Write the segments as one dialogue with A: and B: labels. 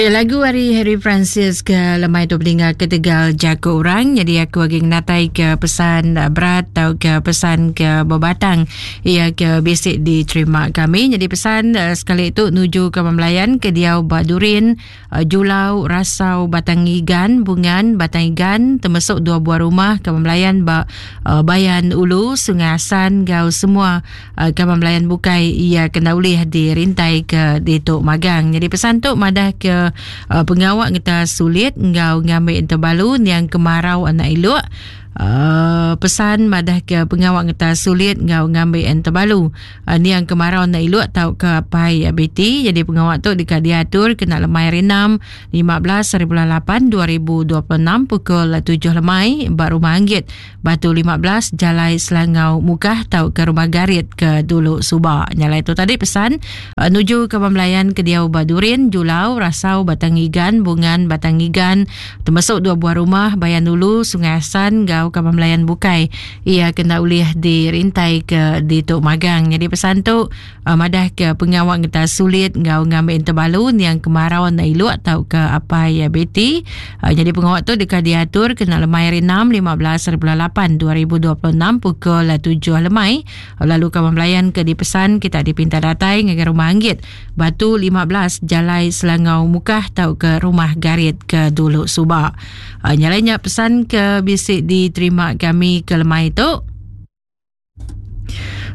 A: Eh, lagu ari Harry Francis ke lemai tu beringa ketegal jaku orang. Jadi aku agi ngenatai ke pesan berat atau ke pesan ke bebatang ia ke bisi diterima kami. Jadi pesan eh, sekali tu nuju ke pemelayan ke diau ba Durin, eh, Julau, Rasau, Batang Igan, Bungan, Batang Igan, termasuk dua buah rumah ke pemelayan ba eh, Bayan Ulu, Sungai Asan, gau semua Kaban belayan bukai iya kena ulih dirintai ke ditu magang. Jadi pesan tu madah ke uh, pengawa ngeta sulit enggau ngambi entebalu niang kemarau anak iluk. Uh, pesan madah ke pengawa ngeta sulit enggau ngambi entebalu uh, niang kemarau anak iluk tau ke pai BT. Jadi pengawa tu deka diatur kena lemai hari 6 15 hari bulan 8 2026 pukul 7 lemai ba Rumah Anggit Batu 15 Jalai Selangau Mukah tauka Rumah Garit ke dulu suba. Nyalai tu tadi pesan uh, nuju ke Bamlayan ke diau ba Durin, Julau, Rasau, Batang Igan, Bungan, Batang Igan, termasuk dua buah rumah Bayan Ulu, Sungai Asan, gau ke Bamlayan bukai. Ia kena ulih dirintai ke ditu magang. Jadi pesan tu uh, madah ke pengawa ngeta sulit enggau ngambi entebalu niang kemarau enda iluk tauka apai Betty. Uh, jadi pengawa tu deka diatur kena lemai hari 6 15 hari bulan 8 2026 pukul 7 lemai. Lalu kawan belayan ke dipesan kita dipinta datai ngagai rumah Anggit Batu 15 Jalai Selangau Mukah tauka rumah Garit ke dulu suba. Uh, nyalai nya pesan ke bisi diterima kami ke lemai tu.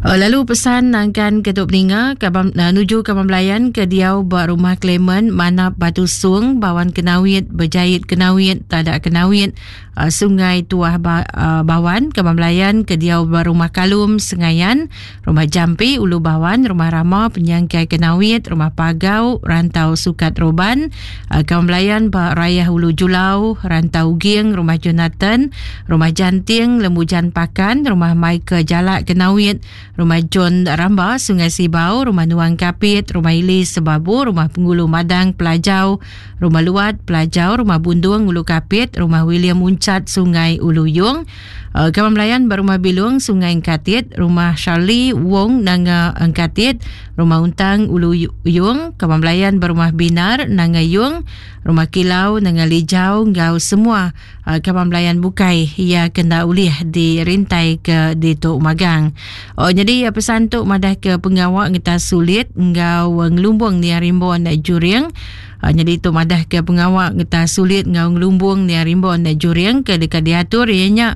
A: Eh, lalu pesan nangkan ke tu peninga kabam, uh, nuju kaban belayan ke diau ba rumah Clement Manap Batu Sung Bawan Kenawit Berjait Kenawit Tadak Kenawit uh, Sungai Tuah ba, uh, Bawan kaban belayan ke diau ba rumah Kalum Sengayan Rumah Jampi Ulu Bawan Rumah Rama Penyangkai Kenawit Rumah Pagau Rantau Sukat Roban uh, kaban belayan ba Rayah Ulu Julau Rantau Uging Rumah Jonathan Rumah Janting, Lembujan Pakan, Rumah Michael Jalak Kenawit, Rumah John Ramba, Sungai Sibau, Rumah Nuang Kapit, Rumah Ili Sebabu, Rumah Penghulu Madang Pelajau, Rumah Luat Pelajau, Rumah Bundung Ulu Kapit, Rumah William Uncat Sungai Ulu Yung, uh, Kawan Belayan Berumah Bilung Sungai Engkatit, Rumah Charlie Wong Nanga Engkatit, Rumah Untang Ulu Yung, Kawan Belayan Berumah Binar Nanga Yung, Rumah Kilau Nanga Lijau enggau semua Kaban belayan bukai iya ke enda ulih dirintai ke ditu magang. Oh, jadi pesan tu madah ke pengawa ngeta sulit enggau ngelumbung nia rimbun juring. Jadi tu madah ke pengawa ngeta sulit enggau ngelumbung nia rimbun juring ke deka diatur iya nya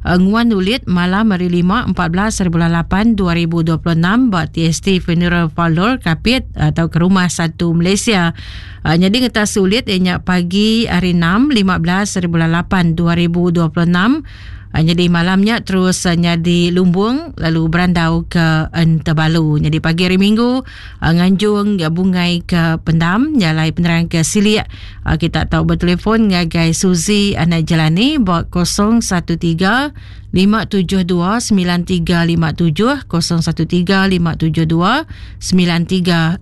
A: nguan ulit malam hari 5 14 hari bulan 8 2026 ba TST Funeral Parlour Kapit atau ke Rumah Satu Malaysia. Uh, nyadi ngeta sulit iya nya pagi hari 6 15 hari bulan 8 2026. Uh, nyadi malam nya terus uh, nyadi lumbung lalu berandau ke Entebalu. Nyadi pagi hari Minggu uh, nganjung bungai ke pendam nyalai penerang ke silik uh, kita tau bertelefon ngagai Suzy anak Jelani ba 013 572 9357 013 572 9357.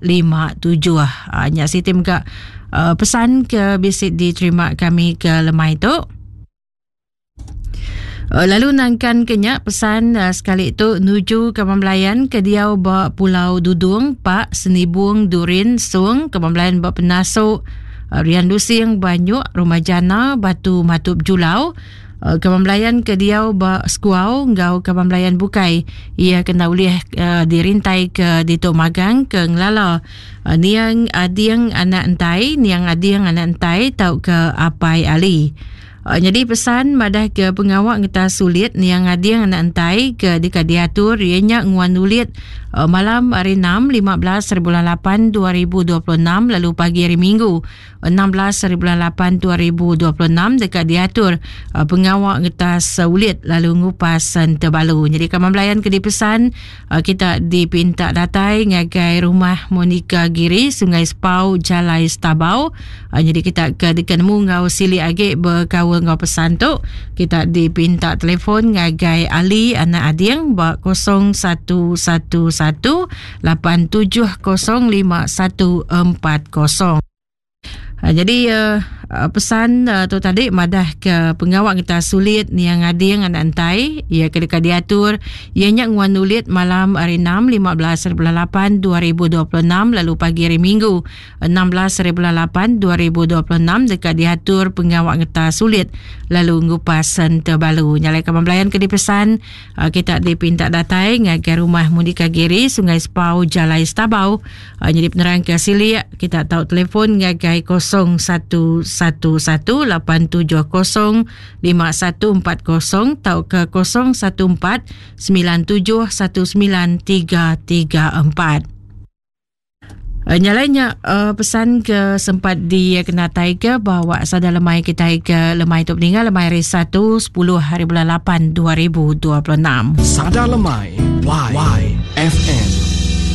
A: Ha, nya siti mega uh, pesan ke bisi diterima kami ke lemai tu. Uh, lalu nangkan ke nya pesan uh, sekali tu nuju ke pembelayan ke diau ba Pulau Dudung, Pak Senibung, Durin, Sung, ke pembelayan ba Penasuk, uh, Rian Lusing, Banyuk, Rumah Jana, Batu Matup Julau, Eh, kaban belayan ke diau ba Sekuau enggau kaban belayan bukai iya kena ulih uh, dirintai ke ditu magang ke ngelala uh, niang ading anak entai niang ading anak entai tauka apai ali. Uh, jadi pesan madah ke pengawa ngeta sulit niang ading anak entai ke deka diatur iya nya nguan ulit uh, malam hari 6 15 hari bulan 8 2026 lalu pagi hari Minggu 16 hari bulan 8 2026 deka diatur uh, pengawa ngetas uh, ulit lalu ngupas entebalu. Jadi kaman belayan ke dipesan uh, kita dipinta datai ngagai rumah Monica Giri Sungai Sepau Jalai Stabau. Jadi kita ke deka nemu enggau silik agi bekaul enggau pesan tu kita dipinta telefon ngagai Ali anak Ading ba 0111 8705140. Ha, jadi uh, Pesan tu tadi madah ke pengawa ngetas sulit niang ngading anak entai iya ke deka diatur iya nya nguan ulit malam hari 6 15 hari bulan 8 2026 lalu pagi hari Minggu 16 hari bulan 8 2026 deka diatur pengawa ngetas sulit lalu ngupas sentebalu. Nyalai kaban belayan ke dipesan kita dipinta datai ngagai rumah Mundika Giri Sungai Sepau Jalai Stabau. Nyadi penerang ke silik kita tau telefon ngagai 0111 870 5140 tauka 014 9719 334. Nya alai nya pesan ke sempat dikenatai ke bawa sada lemai kitai ke lemai tu peninga lemai hari 1 10 hari bulan 8 2026.
B: Sada lemai Y, Y FM.